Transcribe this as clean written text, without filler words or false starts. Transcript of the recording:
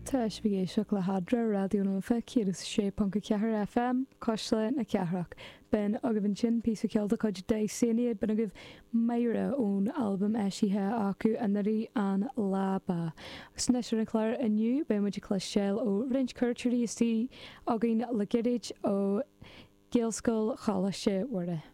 Tá sibh ag éisteacht le hEadra, Raidió na Life 106.4 FM, Cuisle na Cathrach. B'in agaibh ansin píosa ceoil de chuid Dysania, b'in agaibh Máire ón albam eisithe acu anuraidh, An Lá Ba. Agus anois ar an chlár inniu beidh muid ag cloisteáil ó roinnt cuairteoirí istigh againn le gairid ó Ghaelscoil Choláiste Mhuire.